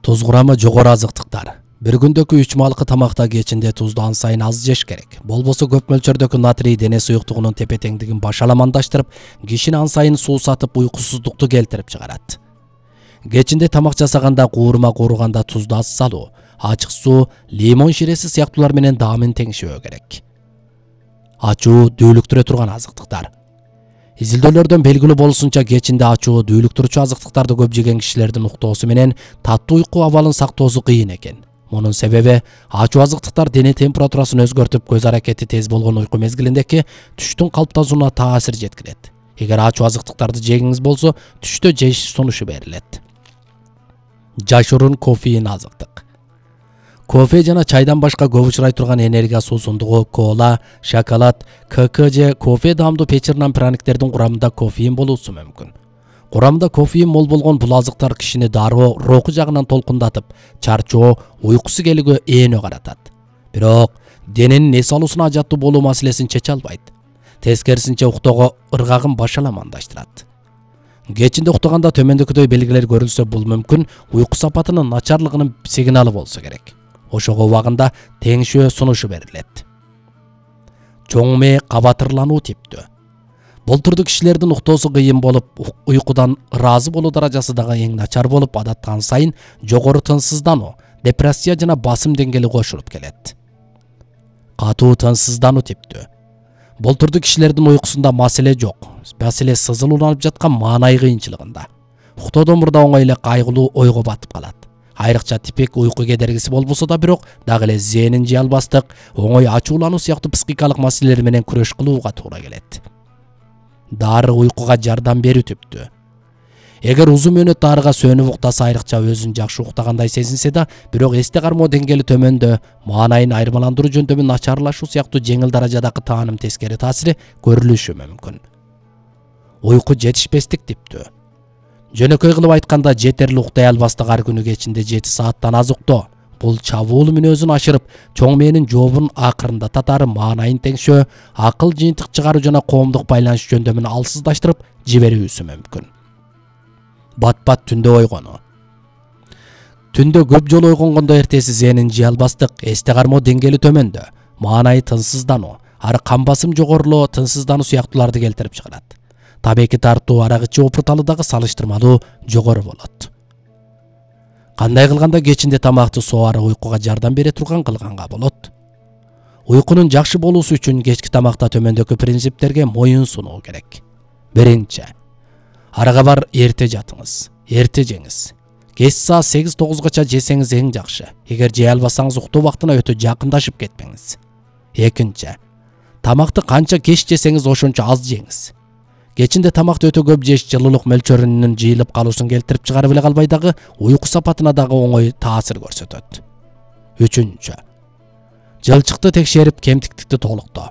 Туз курамы жогору азыктыктар. Bir күндөгү 3 малкы тамакта кечинде тузду ан сайын аз жеш керек. Болбосо көп мөлчөрдөгү натрий дене суюктугунун тепе-теңдигин башаламандаштырып, кишини ан сайын суусатып уйкусуздукту келтирип чыгарат. Кечинде тамак жасаганда куурма кууруганда тузду аз салуу, ачык суу, лимон ширеси сыяктуулар менен даамын теңшөө керек. Ачуу дүүлүктүрө турган азыктыктар. Изилдөөлөрдөн белгилүү болушунча кечинде ачуу дүүлүктүрүүчү азыктыктарды көп жеген кишилердин уктоосу менен таттуу уйку абалын сактоосу кыйын экен. Мунун себеби ачуу азыктыктар дене температурасын өзгөртүп, көз аракети тез болгон уйку мезгилиндеги түштүн калыптасууна таасир жеткирет. Эгер ачуу азыктыктарды жегиңиз болсо, түштө жеш сунушу берилет. Жашыруун кофеин азыктык. Кофе жана чайдан башка көп учурай турган энергия суусундугу, кола, шоколад, КК же кофе даамдуу печирнан праниктердин курамында кофеин болуусу мүмкүн. Курамында кофеин мол болгон бул азыктар кишини дароо руху жагынан толкундатып, чарчоо, уйкусу келүүгө эөнө каратат. Бирок дененин эс алуусуна ажаттуу болуу маселесин чече албайт. Тескерисинче уктоого ыргагын башаламандаштырат. Кечинде уктаганда төмөндөгүдөй белгилер көрүлсө, бул мүмкүн уйку сапатынын начарлыгынын сигналы болсо керек. Ошого убагында теңшөө сунушу берилет. Чоң мээ кабатырлануу типтүү. Бул түрдүү кишилердин уктоосу кыйын болуп, уйкудан ыраазы болуу даражасы дагы эң начар болуп, адаттаган сайын жогору тынчсыздануу, депрессия жана басым деңгээли кошулуп келет. Катуу тынчсыздануу типтүү. Бул түрдүү кишилердин уйкусунда маселе жок. Маселе сызылууланып жаткан маанай кыйынчылыгында. Уктоодон мурда оңой эле кайгылуу ойго батып калат. Айрыкча типик уйку кедергиси болбосо да, бирок дагы эле зээнин жей албастык, оңой ачуулануу сыяктуу психикалык маселелер менен күрөш кылууга туура келет. Дары уйкуга жардам берүү типтүү. Эгер узун мөөнөт дарыга сөнүп уктаса, айрыкча өзүн жакшы уктагандай сезинсе да, бирок эсте кармоо деңгээли төмөндө, маанайын айырмаландыруу жөндөмү начарлашуу сыяктуу жеңил даражадагы тааным тескери таасири көрүлүшү мүмкүн. Уйку жетишпестик типтүү. Жөнөкөй кылып айтканда, жетерли уктай албастык, ар күнү кечинде 7 сааттан аз уктоо. Бул чабуул мүнөзүн ашырып, чоң мээнин жообун акырында татары, маанайын теңшөө, акыл жыйынтык чыгаруу жана коомдук байланыш жөндөмүн алсыздаштырып жиберүүсү мүмкүн. Бат-бат түндө ойгонуу. Түндө көп жолу ойгонгондо эртеси зээнин жей албастык, эсте кармоо деңгээли төмөндө, маанайы тынчсыздануу, ары кан басым жогорулоо, тынчсыздануу сыяктууларды келтирип чыгарат. Табеки тартуу, арак ичүү опурталы дагы салыштырмалуу жогору болот. Кандай кылганда кечинде тамакты соору уйкуга жардам бере турган кылганга болот? Уйкунун жакшы болуусу үчүн кечки тамакта төмөндөгү принциптерге моюн сунуу керек. Биринчи, арага бар эрте жатыңыз, эрте жеңиз. Кеч саат 8-9гача жесеңиз эң жакшы. Эгер жей албасаңыз, уктоо убактына өтө жакындашып кетпеңиз. Экинчи, тамакты канча кеч жесеңиз ошончо аз жеңиз. Кечинде тамакты өтө көп жеш жылуулук мөлчөрүнүн жыйылып калуусун келтирип чыгарып эле калбай дагы, уйку сапатына дагы оңой таасир көрсөтөт. Үчүнчү, жылчыкты текшерип, кемтиктикти толуктоо.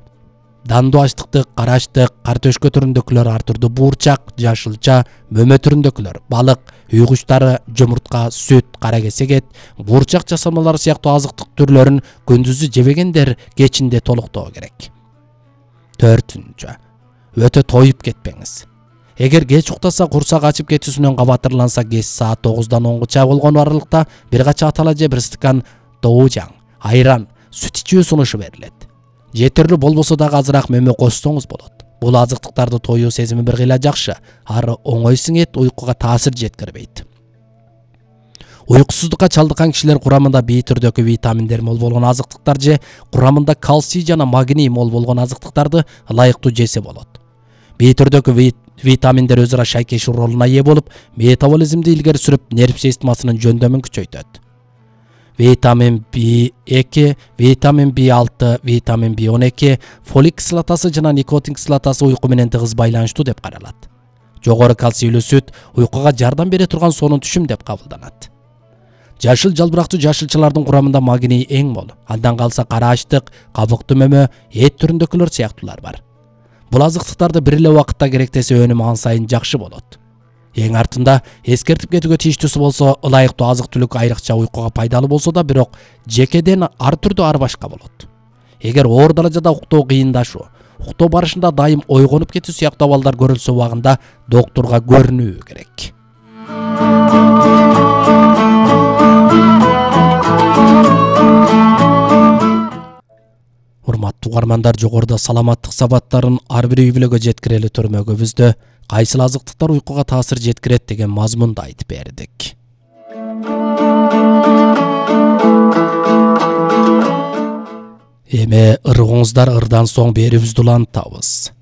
Дандуу ачтыктык, кара ачтык, кар төшкө түрүндөгүлөр, ар түрдүү буурчак, жашылча, мөмө түрүндөгүлөр, балык, үй куштары, жумуртка, сүт, кара кесек эт, буурчак жасалмалары сыяктуу азыктык түрлөрүн күндүзү жебегендер кечинде толуктоо керек. Төртүнчү, өтө тоюп кетпеңиз. Эгер кеч уктаса, курсак ачып кетүүсүнөн кабатырланса, кеч саат 9-дан 10-гача болгон аралыкта бир кача атала же бир стакан доужаң, айран, сүт ичүү сунушу берилет. Жетерлүү болбосо дагы азыраак мөмө кошсоңуз болот. Бул азыктыктарды тоюу сезими бир кыйла жакшы, ары оңой сиңет, уйкуга таасир жеткирбейт. Уйкусуздукка чалдыккан кишилер курамында бий түрдөгү витаминдер мол болгон азыктыктар же курамында кальций жана магний мол болгон азыктыктарды ылайыктуу жесе болот. Бий түрдөгү витаминдер өзара шайкешүү ролуна ээ болуп, метаболизмди илгери сүрүп, нерв системасынын жөндөмүн күчөйтөт. Витамин B2, витамин B6, витамин B12, фолик кислотасы жана никотин кислотасы уйку менен тыгыз байланыштуу деп каралат. Жогору кальцийлүү сүт уйкуга жардам бере турган сонун түшүм деп кабылданат. Жашыл жалбырактуу жашылчалардын курамында магний эң мол. Андан калса кара ачтык, кабыктуу мөмө, эт түрүндөгүлөр сыяктуулар бар. Бул азыктыктарды бир эле убакытта керектесе, өнүмү ан сайын жакшы болот. Эң артында эскертип кетүүгө тийиштүүсү болсо, ылайыктуу азык-түлүк айрыкча уйкуга пайдалуу болсо да, бирок жекеден ар түрдүү ар башка болот. Эгер оор даражада уктоо кыйындашуу, уктоо барышында дайым ойгонуп кетүү сыяктуу абалдар көрүлсө, убагында доктурга көрүнүү керек. урматтуу угармандар, жогоруда саламаттык сабаттарын ар бир үй бүлөгө жеткирели төрмөгүбүздө кайсыл азыктыктар уйкуга таасир жеткирет деген мазмунду айтып бердик. Эми ыргыңыздар ырдан соң берүүбүздү улантабыз.